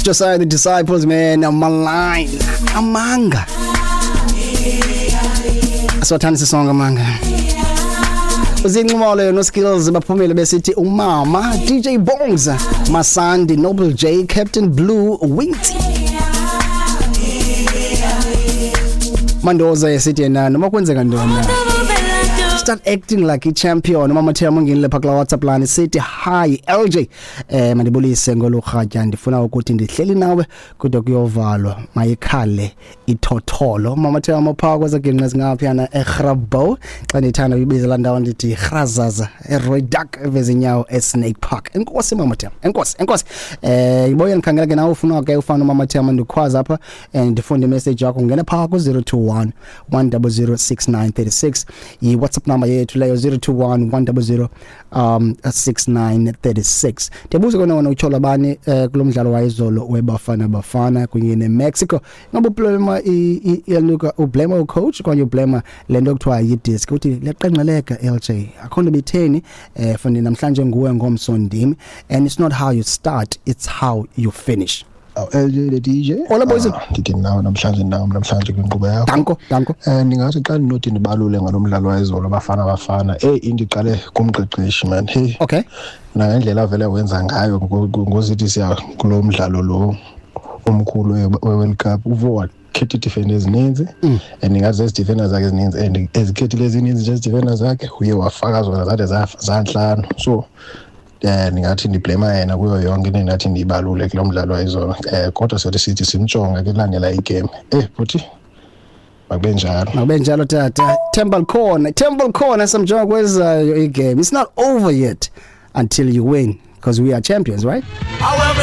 Josiah the Disciples, man, malign amanga. Asiwathanda sisonke amanga. Uzinxumalo no Skills baphumile besithi umama DJ Bongs Masandi Noble J Captain Blue Winty Mandoza esithi yena noma kwenzeka ntoni start acting like a champion. Umama Thema ungenile pha kula WhatsApp line sithi hi LJ, mandibulise ngolurhatya, ndifuna ukuthi ndihleli nawe kude kuyovalwa, mayikhale ithotholo. Mama Thema pha kwezaginqe zingaphiyana eGrabouw, xa ndithanda uyibiza laa ndawo ndithi Grazaza eRoyduck evezinyawo eSnake Park. Enkosi Mama Thema, enkosi, enkosi. Iboye ndikhangela ke nawe ufuna ke ufana uMama Thema, ndikhwaza apha ndifunde imessage yakho, ngena pha ku-021 100 6936, yi-WhatsApp number yethu leyo, 021 100 6936. Ndiyabuza kona wona utyhola bani kulo mdlalo wayizolo weBafana Bafana kunye neMexico? Ingaba ublema iyaluka, ublema ucoach okanye ublema le nto kuthiwa yidisk, uthi liyaqengqeleka LJ, akho nto bitheni fundi namhlanje nguwe ngomso ndim, and it's not how you start, it's how you finish. Aw LJ the DJ. Hola, boys. Ah, ndithi nawe namhlanje, nawe namhlanje kwinkqubo yakho. Danko, danko. Ndingathi xa ndinothi ndibalule ngalo mdlalo wayizolo Bafana Bafana, hey, into iqale kumqeqeshi man. Hey. Nangendlela avele wenza ngayo ngozithi siya kulo mdlalo lo omkhulu we-World Cup, uvo wakhetha ii-defender ezininzi and ingathi zezi defender zakhe ezininzi and ezikhethile ezininzi nje ezi defender zakhe uye wafaka zona zade zantlanu. So ndingathi ndiblema yena kuyo yonke into endathi ndiyibalule kulo mdlalo wayizolo. Kodwa siyothi sithi simjonge ke kulandela igame. Bhuti, makube njalo. Makube njalo tata. Temple Corner, Temple Corner samjonga kwezayo igame. It's not over yet until you win, because we are champions, right? However